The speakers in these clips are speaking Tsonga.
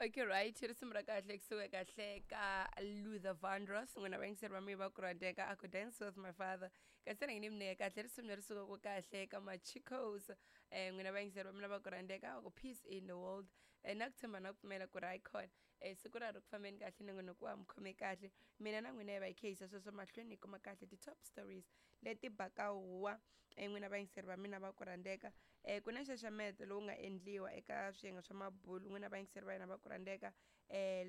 Okay, right, risimu ra kahle kusuka kahle ka Luther Vandross. N'wina vayingiseri va mina va ku rhandzeka, a ku Dance With My Father, kasi na yini mi kahle risimu leri sukaka kahle ka Machicos. N'wina vayingiseri va mina va ku rhandzeka, ku peace in the world. Na ku tshemba na ku pfumela ku ri hayi khona siku ra ri ku fambeni kahle, nongonoko wa mi khome kahle. Mina na n'wina hi va hi khe yisa sweswo mahlweni hi kuma kahle ti-top stories leti baka huwa. N'wina vayingiseri va mina va ku rhandzeka, ku na nxaxameto lowu nga endliwa eka swiyenge swa mabulu. N'wina vayingiseri va hina va ku rhandzeka,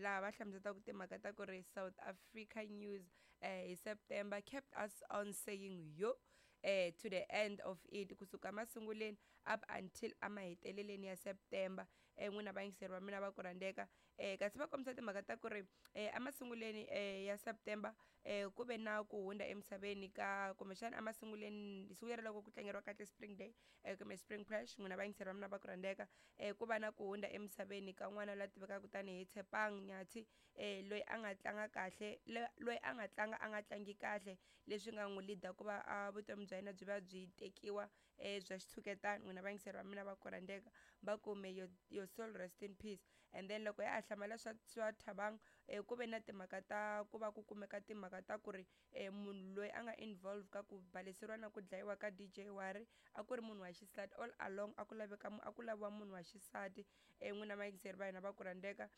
laha va hlamuselaka timhaka ta ku ri South Africa News hi September kept us on saying yo to the end of it, kusuka masunguleni up until amaheteleleni ya September. N'wina vayingiseri va mina va ku rhandzeka, kasi va kombisa timhaka ta ku ri emasunguleni ya September ku ve na ku hundza emisaveni ka, kumbexana emasunguleni siku leri loko ku tlangeriwa kahle Spring Day kumbe Spring Crash. N'wina vayingiseri va mina va ku rhandzeka, ku va na ku hundza emisaveni ka n'wana la tivekaka tanihi Tshepang Nyathi, loyi a nga tlanga kahle, loyi a nga tlanga a nga tlangi kahle, leswi nga n'wi lead ku va a vutomi bya yena byi va byi tekiwa bya xitshuketano. N'wina vayingiseri va mina va ku rhandzeka, va ku may your soul rest in peace. And then loko ya ha hlamala swa Thabang, ku ve na timhaka ta ku va ku kumeka timhaka ta ku ri munhu loyi a nga involve ka ku baleseriwa na ku dlayiwa ka DJ Wari a ku ri munhu wa xisati. All along a ku laveka, a ku laviwa munhu wa xisati. N'wina vayingiseri va hina va ku rhandzeka,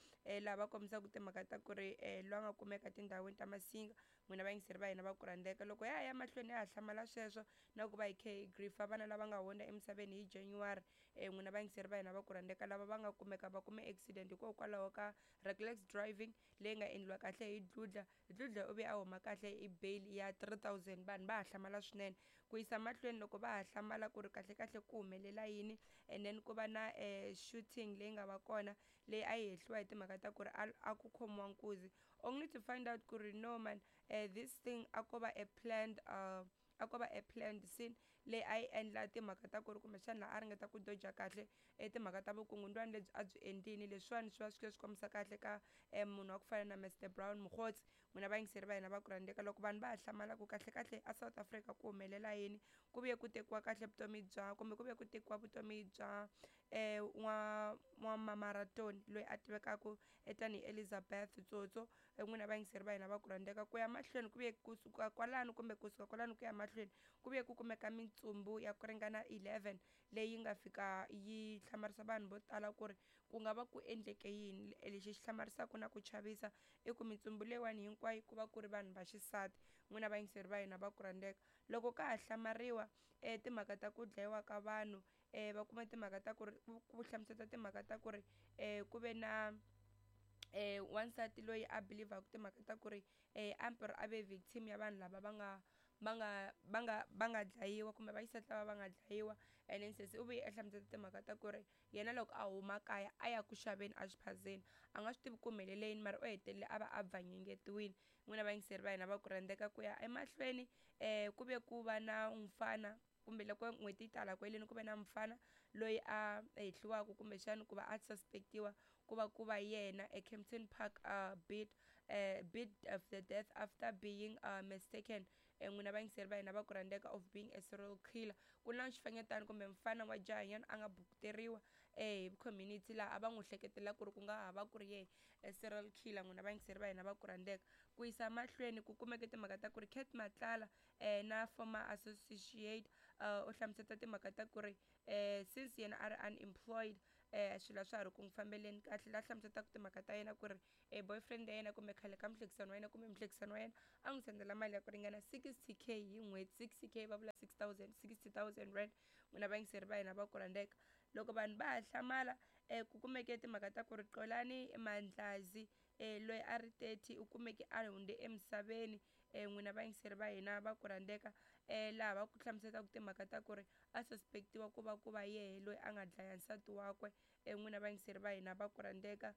laha va kombisaka timhaka ta ku ri loyi a nga kumeka tindhawini ta Masinga. N'wina vayingiseri va hina va ku rhandzeka, loko ya ha ya mahlweni ya ha hlamala sweswo na ku va hi khe hi griefa vana lava nga hundza emisaveni hi January. N'wina vayingiseri va hina va ku rhandzeka, lava va nga kumeka va kume accident hikokwalaho ka reckless driving leyi nga endliwa kahle hi Dludla. Dludla u ve a huma kahle hi bail ya 3000. Vanhu va ha hlamala swinene ku yisa mahlweni, loko va ha hlamala ku ri kahle kahle ku humelela yini. And then ku va na shooting leyi nga va kona, leyi a yi hehliwa hi timhaka ta ku ri a ku khomiwa nkuzi, only to find out ku ri no man, this thing a ko va a planned a ko va a planned scene leyi a yi endla timhaka ta ku ri kumbexana a ringeta ku doja kahle timhaka ta vukungundwani lebyi a byi endlini. Leswiwani swi va swi swi kombisa kahle ka munhu wa ku fana na Mr Brown Mogotsi. N'wina vayingiseri va hina va ku rhandzeka, loko vanhu va ha hlamala ku kahle kahle a South Africa ku humelela yini, ku vuye ku tekiwa kahle vutomi bya, kumbe ku vuye ku tekiwa vutomi bya n'wa mamaratoni loyi a tivekaka tanihi Elizabeth Tsotso. N'wina vayingiseri va hina va ku rhandzeka, ku ya mahlweni ku vuye kusuka kwalano, kumbe kusuka kwalano ku ya mahlweni ku vuye ku kumeka mitsumbu ya ku ringana 11 leyi nga fika yi hlamarisa vanhu vo tala ku ri ku nga va ku endleke yini. Lexi xi hlamarisaka na ku chavisa i ku mitsumbu leyiwani hinkwayo ku va ku ri vanhu va xisati. N'wina vayingiseri va hina va ku rhandzeka, loko ka ha hlamariwa timhaka ta ku dlayiwa ka vanhu, va kuma timhaka ta ku ri ku hlamusela timhaka ta ku ri ku ve na wansati loyi a believaku timhaka ta ku ri amper a ve victim ya vanhu lava va nga va nga va nga va nga dlayiwa, kumbe vaxisati lava va nga dlayiwa. And then sesi u vuye a hlamusela timhaka ta ku ri yena loko a huma kaya a ya ku xaveni exiphazeni, a nga swi tivi ku humelele yini, mara u hetelele a va a bvanyangetiwile. N'wina vayingiseri va hina va ku rhandzeka, ku ya emahlweni ku ve ku va na mfana, kumbe loko n'hweti yi tala ku heleni, ku ve na mfana loyi a hehliwaka kumbexana ku va a suspectiwa ku va yena eKempton Park, bid of the death after being mistaken, n'wina vayingiseri va hina va ku rhandzeka, of being a serial killer. Ku na xifanyetana kumbe mfana wa jahanyana a nga bukuteriwa hi community, laha a va n'wi hleketela ku ri ku nga ha va ku ri yehe serial killer. N'wina vayingiseri va hina va ku rhandzeka, ku yisa mahlweni ku kumeke timhaka ta ku ri Cat Matlala na former associate u hlamuseta timhaka ta ku ri since yena a ri unemployed, swilo a swa ha ri ku n'wi fambeleni kahle, la hlamusetaka timhaka ta yena ku ri boyfriend ya yena, kumbe khale ka muhlekisani wa yena, kumbe muhlekisani wa yena, a n'wi sendela mali ya ku ringana 60K hi n'hweti. 60K va vula 6000, 60,000 rand. N'wina vayingiseri va hina va ku rhandzeka, loko vanhu va ha hlamala, ku kumeke timhaka ta ku ri Qolani Mandlazi, loyi a ri 30, u kumeke a hundze emisaveni. N'wina vayingiseri va hina va ku rhandzeka, laha va ku hlamuselaka timhaka ta ku ri a suspectiwa ku va yehe loyi a nga dlaya nsati wakwe. N'wina vayingiseri va hina va ku rhandzeka,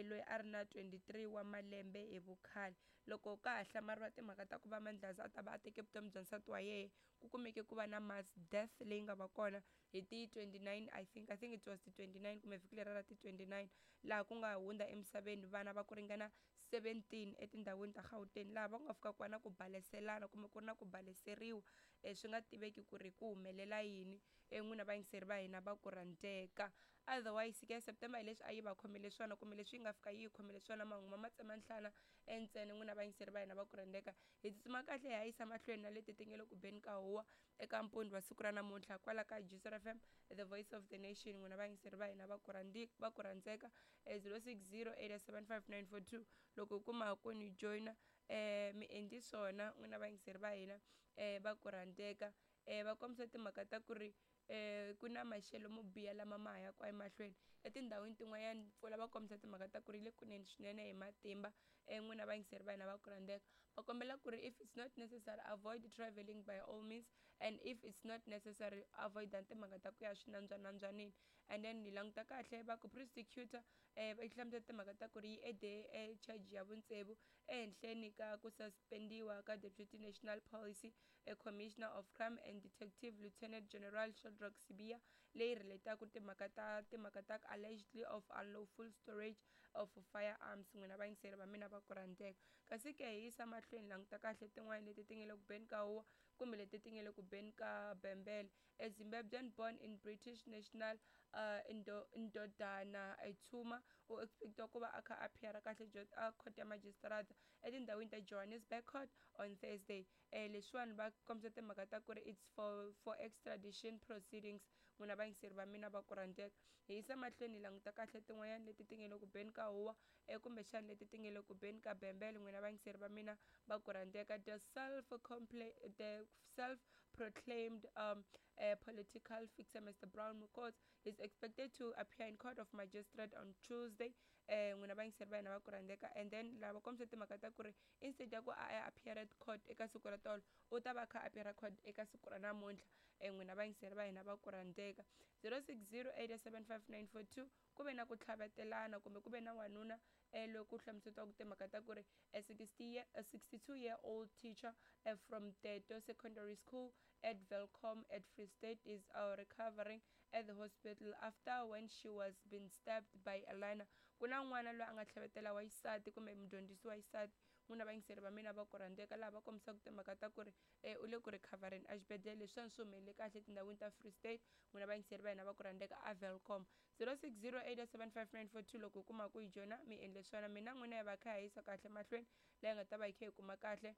loyi a ri na 23 wa malembe hi vukhale. Loko ka ha hlamariwa timhaka ta ku va Mandlazi a ta va a teke vutomi bya nsati wa yehe, ku kumeke ku va na mass death leyi nga va kona hi ti 29, I think it was ti 29, kumbe vhiki leri ra ti 29, laha ku nga hundza emisaveni vana va ku ringana 17 etindhawini ta Gauteng, laha va nga fika ku va na ku baleselana, kumbe ku ri na ku baleseriwa, swi nga tiveki ku ri ku humelela yini. N'wina vayingiseri va hina va ku rhandzeka. Otherwise ke September hi leswi a yi va khomele swona kumbe leswi yi nga fika yi yi khomele swona, mahungu ma matsema nhlana entsene. N'wina vayingiseri va hina va ku rhandzeka, hi tsutsuma kahle hi ya yisa mahlweni na leti ti nge le ku beni ka huwa eka mpundzu wa siku ra namuntlha kwala ka Juicer FM, the voice of the nation. N'wina vayingiseri va hina va ku va ku rhandzeka, 0608755942 loko u kuma ku ni joyina, mi endli swona. N'wina vayingiseri va hina va ku rhandzeka, va kombisa timhaka ta ku ri ku na maxelo mo biha lama ma ha yaka emahlweni etindhawini tin'wanyana. Mpfula va kombisa timhaka ta ku ri le kunene swinene hi matimba. N'wina vayingiseri va hina va ku rhandzeka, va kombela ku ri if it's not necessary, avoid traveling by all means, and if it's not necessary, avoid timhaka ta ku ya swinambyanambywanini. And then ni languta kahle, va ku prosecutor va hlamusela timhaka ta ku ri yi ede e charge ya vutsevu ehenhleni ka ku suspendiwa ka Deputy National Policy a Commissioner of Crime and Detective Lieutenant General Shadrack Sibiya, leyi relataka timhaka ta allegedly of unlawful storage of firearms. N'wina vayingiseri va mina va ku rhandzeka, kasi ke hi yisa mahlweni, languta kahle tin'wani leti ti nge le ku beni ka huwa kumbe leti ti nge le ku beni ka bembele. A Zimbabwean born in British national, Ndodana Ithuma, u expectiwa ku va a kha a appear kahle a court ya magistrate etindhawini ta Johannesburg Court on Thursday. Leswiwani va kombisa timhaka ta ku ri it's for extradition proceedings. N'wina vayingiseri va mina va ku rhandzeka, hi yisa mahlweni hi languta kahle tin'wanyana leti ti nge le ku beni ka huwa, kumbexana leti ti nge le ku beni ka bembele. N'wina vayingiseri va mina va ku rhandzeka, the self proclaimed political fixer Mr Brown Mokotsi is expected to appear in court of magistrate on Tuesday. N'wina vayingiseri va hina va ku rhandzeka, and then lava kombisa timhaka ta ku ri instead ya ku a ya appear at court eka siku ra tolo, u ta va a kha a appear court eka siku ra namuntlha. N'wina vayingiseri va hina va ku rhandzeka, 06087594 ku ve na ku tlhavetelana kumbe ku ve na wanuna loko ku hlamusetiwaka timhaka ta ku ri a 60 year, a 62 year old teacher from Teto Secondary School at Welkom at Free State is recovering at the hospital after when she was been stabbed by a learner. Ku na n'wana loyi a nga tlhavetela wa xisati kumbe mudyondzisi wa xisati. N'wina vayingiseri va mina va ku rhandzeka, laha va kombisaka timhaka ta ku ri u le ku recovereni exibedhlele. Leswiwani swi humelele kahle etindhawini ta Free State. N'wina vayingiseri va hina va ku rhandzeka, a Welkom, 06087594 loko u kuma ku yi joyina, mi endle swona. Mina n'wina hi va kha hi yisa kahle mahlweni laha hi nga ta va hi kha hi kuma kahle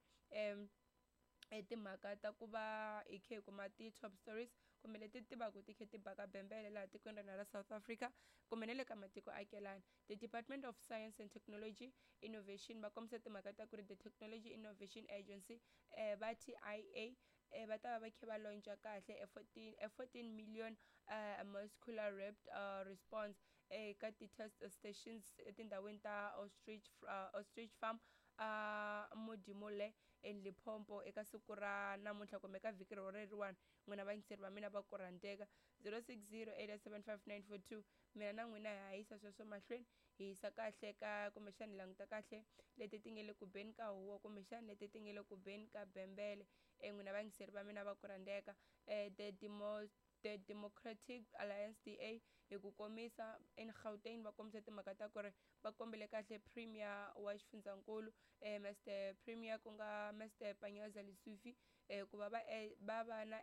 timhaka ta ku va hi kha hi kuma ti-top stories kumbe leti tivaka ti kha ti baka bembele laha tikweni ra ra South Africa kumbe na le ka matiko akelani. The Department of Science and Technology Innovation va kombisa timhaka ta ku ri the Technology Innovation Agency, va TIA, va ta va va kha va launcha kahle a 14 million muscular rapid response eka ti-test stations etindhawini ta Ostrich Farm, Modimolle in Limpopo eka siku ra namuntlha kumbe ka vhiki ro reriwani. N'wina vayingiseri va mina va ku rhandzeka, 06087594, mina na n'wina hi hayisa sweswo mahlweni, hi yisa kahle ka kumbexana hi languta kahle leti ti nge le ku beni ka huwa kumbexana leti ti nge le ku beni ka bembele. N'wina vayingiseri va mina va ku rhandzeka, the Democratic Alliance, DA hi ku komisa, in Gauteng va kombisa timhaka ta ku ri va kombele kahle Premier wa xifundzankulu, Mr Premier, ku nga Mr Panyaza Lesufi, ku va va na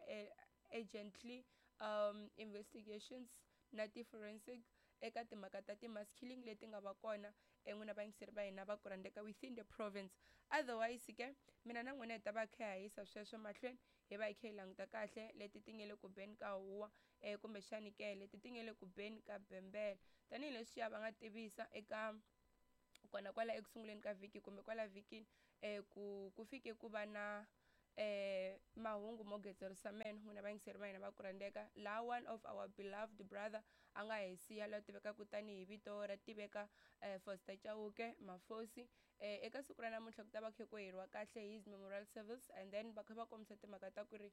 urgently investigations na ti-forensic eka timhaka ta ti-mass killing leti nga va kona. N'wina vayingiseri va hina va ku rhandzeka, within the province. Otherwise ke mina na n'wina hi ta va kha hi yisa sweswo mahlweni, hi va hi kha hi languta kahle leti ti nge le ku beni ka huwa, kumbexani ke leti ti nge le ku beni ka bembele, tanihileswiya va nga tivisa eka kona kwala eku sunguleni ka vhiki kumbe kwala vhikini, ku fike ku va na mahungu mo getserisa meno. N'wina vayingiseri va hina va ku rhandzeka, laha one of our beloved brother a nga hi siya, loyi tivekaka tanihi vito ra tiveka, Foster Chauke Mafosi. Eka siku ra namuntlha ku ta va kha ku heriwa kahle his memorial service, and then va kha va kombisa timhaka ta ku ri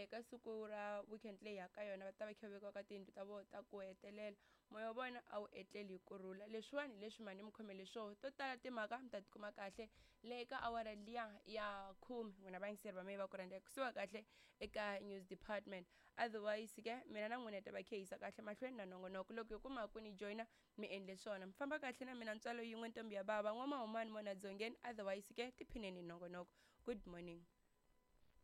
ka siku ra weekend leyi ya ka yona va ta va kha vekiwa ka tiyindlu ta vona ta ku hetelela. Moya wa vona a wu etleli hi kurhula. Leswiwani hi leswi mhani mi khomele swoho to tala timhaka mi ta tikuma kahle le ka awara liya ya 10. N'wina vayingiseri va mehe va ku rhandzeka, kusuka kahle eka news department. Otherwise ke mina na n'wina hi ta va kha yisa kahle mahlweni na nongonoko. Loko hi kuma ku ni joyina, mi endle swona. Mi famba kahle na mina, ntswalo yin'we, ntombi ya bava, n'wamahumani mona dzongeni. Otherwise ke tiphineni hi nongonoko. Good morning.